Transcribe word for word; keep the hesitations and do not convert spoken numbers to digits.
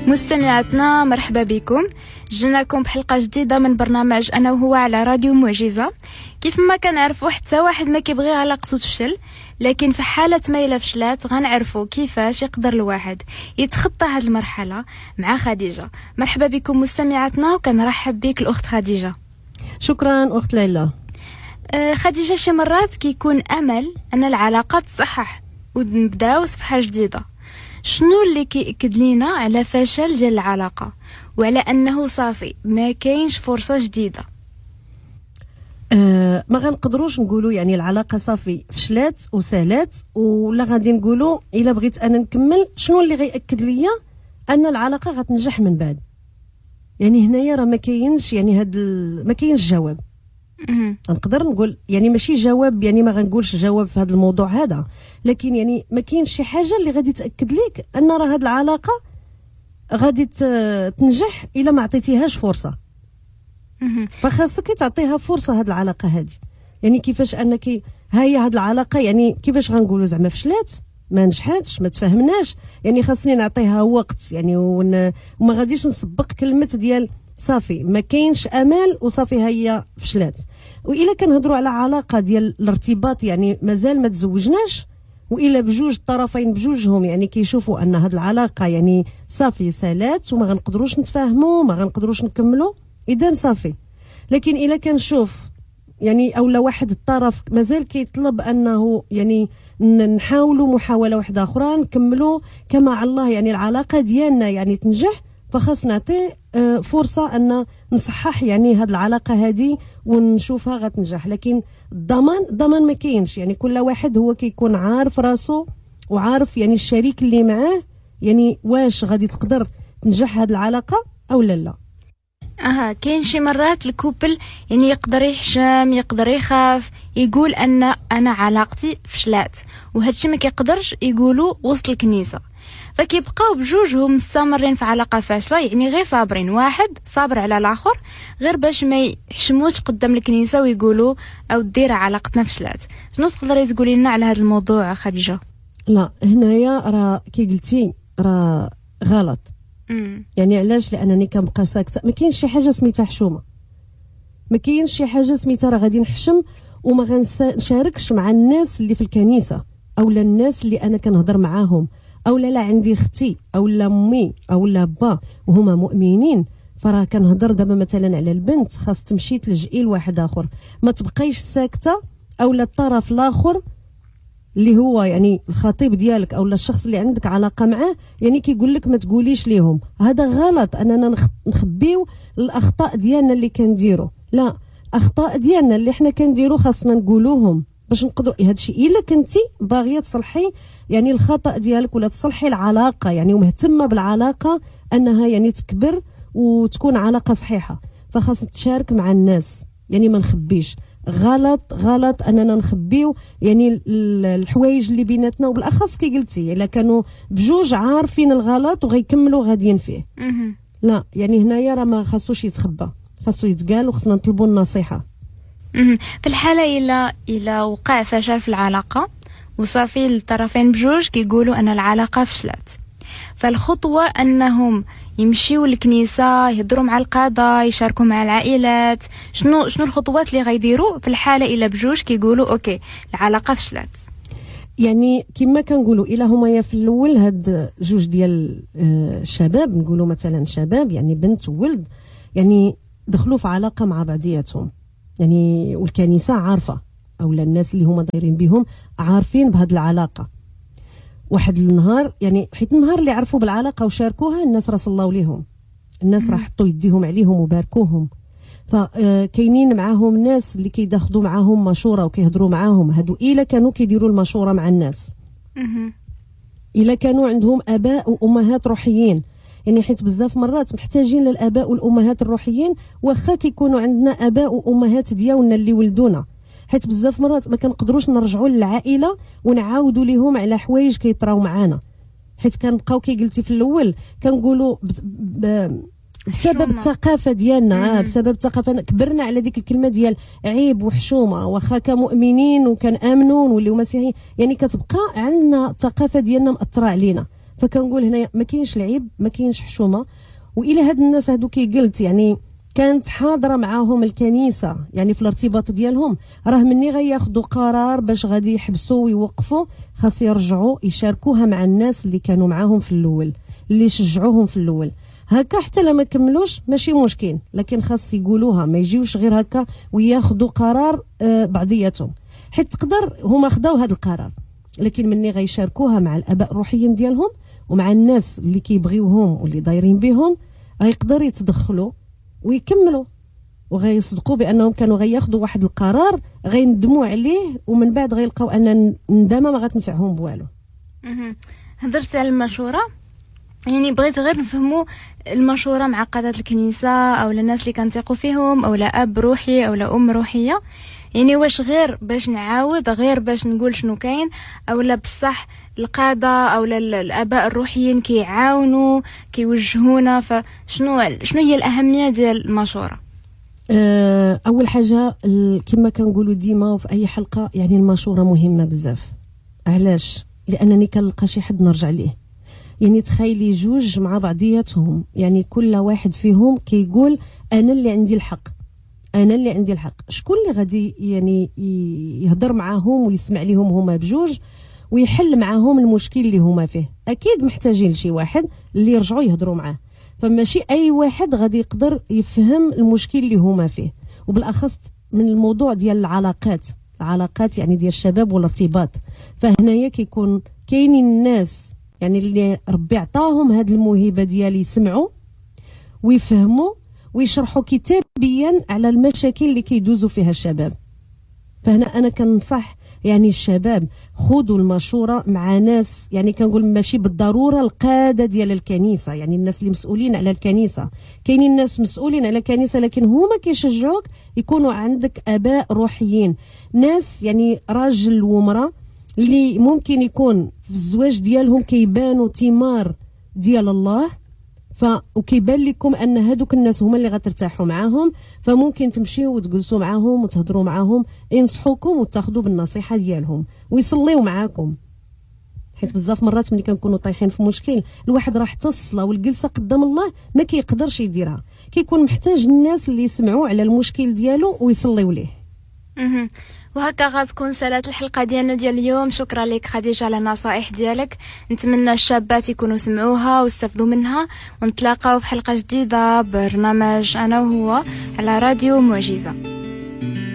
مستمعاتنا مرحبا بكم، جيناكم بحلقة جديدة من برنامج أنا وهو على راديو معجزة. كيف ما كنعرفوا حتى واحد ما كيبغي علاقته تفشل، لكن في حالة ما إلا فشلات غنعرفوا كيفاش يقدر الواحد يتخطى هذه المرحلة مع خديجة. مرحبا بكم مستمعاتنا، وكنرحب بك الأخت خديجة. شكرا أخت ليلى. آه خديجة، شي مرات كيكون أمل أن العلاقة تصحح ونبداو صفحة جديدة. شنو اللي كيأكد لينا على فشل ديال العلاقة وعلى أنه صافي ما كاينش فرصة جديدة؟ أه ما غنقدروش نقولوا يعني العلاقة صافي فشلات وسالات، ولا غادي نقولوا إلا بغيت أنا نكمل شنو اللي غيأكد ليا أن العلاقة غتنجح من بعد؟ يعني هنايا راه ما كاينش يعني هاد ال... ما كاينش جواب. نقدر نقول يعني ماشي جواب، يعني ما غنقولش جواب في هذا الموضوع هذا، لكن يعني ما كاينش شي حاجة اللي غادي تاكد لك ان راه هذه العلاقة غادي تنجح الا ما عطيتيهاش فرصة. فخاصك تعطيها فرصة هذه العلاقة هذه. يعني كيفاش انك ها هي هذه العلاقة، يعني كيفاش غنقولوا زعما فشلات، ما نجحاتش، ما تفاهمناش، يعني خاصني نعطيها وقت، يعني ون... وما غاديش نسبق كلمة ديال صافي ما كاينش امل وصافي هي فشلات. والا كنهضروا على علاقة ديال الارتباط، يعني مازال ما تزوجناش، والا بجوج الطرفين بجوجهم يعني كيشوفوا ان هذه العلاقة يعني صافي سالات وما غنقدروش نتفاهموا، ما غنقدروش نكملوا، اذا صافي. لكن الا كنشوف يعني اولا واحد الطرف مازال كيطلب انه يعني نحاولوا محاولة واحدة اخرى نكملوا كما على الله يعني العلاقة ديالنا يعني تنجح، فخاص نعطي فرصة أن نصحح يعني هاد العلاقة هذه ونشوفها غتنجح. لكن الضمان الضمان ما كاينش، يعني كل واحد هو كيكون عارف راسو وعارف يعني الشريك اللي معاه يعني واش غادي تقدر تنجح هاد العلاقة أو لا لا. اها كاين شي مرات ال couple يعني يقدر يحشم، يقدر يخاف، يقول ان انا علاقتي فشلات، وهادشي ما كيقدرش يقولوا وسط الكنيسة، فكيبقاو بجوجهم مستمرين في علاقة فاشلة، يعني غير صابرين، واحد صابر على الاخر غير باش ما يحشموش قدام الكنيسة ويقولوا او دير علاقتنا فشلات. شنو تقدري تقولي لنا على هذا الموضوع خديجة؟ لا هنايا راه كي قلتي راه غلط. مم. يعني علاش؟ لانني كنبقى ساكته. ما كاينش شي حاجة سميتها حشومه، ما كاينش شي حاجة سميتها راه غادي نحشم وما غنشاركش مع الناس اللي في الكنيسة او لا الناس اللي انا كنهضر معاهم، او لا لا عندي اختي او لا امي او لا با وهما مؤمنين. فراه كنهضر دابا مثلا على البنت خاص تمشي تلجئي لواحد اخر، ما تبقايش ساكته او لا الطرف الاخر اللي هو يعني الخطيب ديالك او الشخص اللي عندك علاقة معاه يعني كيقول لك ما تقوليش ليهم. هذا غلط اننا نخبيو الاخطاء ديالنا اللي كنديرو. لا، الاخطاء ديالنا اللي حنا كنديرو خاصنا نقولوهم باش نقدروا هذا الشيء. الا كنتي باغية تصلحي يعني الخطا ديالك ولا تصلحي العلاقة يعني ومهتمه بالعلاقة انها يعني تكبر وتكون علاقة صحيحه، فخاص تشارك مع الناس، يعني ما نخبيش. غلط غلط اننا نخبيو يعني الحوايج اللي بيناتنا، وبالاخص كي قلتي الا كانوا بجوج عارفين الغلط وغيكملوا غاديين فيه. لا يعني هنايا راه ما خاصوش يتخبى، خاصو يتقال وخصنا نطلبوا النصيحة. في الحالة إلا إلا وقع فشل في العلاقة وصافي الطرفين بجوج كيقولوا أن العلاقة فشلت، فالخطوة أنهم يمشيوا للكنيسة، يهضروا مع القادة، يشاركوا مع العائلات. شنو شنو الخطوات اللي غيديروا في الحالة إلا بجوج كيقولوا okay العلاقة فشلت؟ يعني كما كنقولوا إلا هما يا في الأول هاد جوج ديال الشباب، نقولوا مثلا شباب يعني بنت وولد، يعني دخلوا في علاقة مع بعضياتهم، يعني والكنيسة عارفة أو الناس اللي هما دايرين بهم عارفين بهاد العلاقة. واحد النهار يعني حيت النهار اللي عرفوا بالعلاقة وشاركوها الناس راه صلاو ليهم، الناس راه حطوا يديهم عليهم وباركوهم، فكاينين معاهم ناس اللي كيداخدوا معاهم مشورة وكيهضروا معاهم. هادو إلا كانوا كيديروا المشورة مع الناس، إلا كانوا عندهم آباء وأمهات روحيين، يعني حيت بزاف مرات محتاجين للآباء والأمهات الروحيين، واخا كيكونوا عندنا آباء وأمهات ديالنا اللي ولدونا، حيت بزاف مرات ما كنقدروش نرجعوا للعائلة ونعاودوا ليهم على حوايج كيطراو معانا، حيت كنبقاو كي قلتي في الاول كنقولوا بسبب الثقافة ديالنا، بسبب الثقافة كبرنا على ديك الكلمة ديال عيب وحشومه، واخا كمؤمنين وكنامنوا ونوليو مسيحيين، يعني كتبقى عندنا الثقافة ديالنا مأثره علينا. فكنقول هنايا ما كاينش العيب، ما كاينش حشومه. والى هاد الناس هادو كي قلت يعني كانت حاضره معاهم الكنيسة يعني في الارتباط ديالهم، راه مني غياخذوا قرار باش غادي يحبسوا ويوقفوا خاص يرجعوا يشاركوها مع الناس اللي كانوا معاهم في الاول، اللي شجعوهم في الاول. هكا حتى لما كملوش ماشي مشكل، لكن خاص يقولوها، ما يجيوش غير هكا وياخذوا قرار آه بعضياتهم، حيت تقدر هما خداو هذا القرار، لكن مني غيشاركوها مع الاباء الروحيين ديالهم ومع الناس اللي كيبغيوهم واللي دايرين بهم، غيقدر يتدخلوا ويكملوا وغيصدقوا بانهم كانوا غياخذوا واحد القرار غيندموا عليه، ومن بعد غيلقاو ان الندامة ما غتنفعهم بوالو. هضرتي على المشورة، يعني بغيت غير نفهموا المشورة مع قادة الكنيسة او الناس اللي كنثقوا فيهم، او لا اب روحي او لا ام روحية، يعني واش غير باش نعاود، غير باش نقول شنو كاين، او لا بصح القادة او الاباء الروحيين كيعاونوا كيوجهونا؟ فشنو شنو هي الاهمية ديال المشورة؟ اول حاجة كما كنقولوا ديما وفي اي حلقة، يعني المشورة مهمة بزاف. علاش؟ لانني كنلقى شي حد نرجع ليه. يعني تخيلي جوج مع بعضياتهم، يعني كل واحد فيهم كيقول انا اللي عندي الحق، انا اللي عندي الحق. شكون اللي غادي يعني يهضر معاهم ويسمع ليهم هما بجوج ويحل معاهم المشكل اللي هما فيه؟ اكيد محتاجين لشي واحد اللي يرجعوا يهضروا معاه، فماشي اي واحد غادي يقدر يفهم المشكل اللي هما فيه، وبالاخص من الموضوع ديال العلاقات، العلاقات يعني ديال الشباب والارتباط. فهنايا كيكون كاينين الناس يعني اللي ربي عطاهم هاد الموهبة ديال يسمعوا ويفهموا ويشرحوا كتابيا على المشاكل اللي كيدوزوا فيها الشباب. فهنا انا كنصح يعني الشباب خذوا المشورة مع ناس، يعني كنقول ماشي بالضرورة القادة ديال الكنيسة، يعني الناس اللي مسؤولين على الكنيسة. كاينين الناس مسؤولين على الكنيسة لكن هما كيشجعوك يكونوا عندك اباء روحيين، ناس يعني راجل ومراة اللي ممكن يكون في الزواج ديالهم كيبانوا ثمار ديال الله، ف وكيبان لكم ان هادوك الناس هما اللي غترتاحوا معاهم، فممكن تمشيو وتجلسوا معاهم وتهضروا معاهم، ينصحوكم وتاخذوا بالنصيحة ديالهم ويصليو معاكم. حيت بزاف مرات ملي كنكونوا طايحين في مشكل الواحد راه حتى الصلاة والجلسه قدام الله ما كيقدرش يديرها، كيكون محتاج الناس اللي يسمعوا على المشكل ديالو ويصليو ليه. وهكا غتكون سالات الحلقة ديالنا ديال اليوم. شكرا لك خديجة على النصائح ديالك، نتمنى الشابات يكونوا سمعوها واستفدوا منها، ونتلاقاو في حلقة جديدة برنامج أنا وهو على راديو معجزة.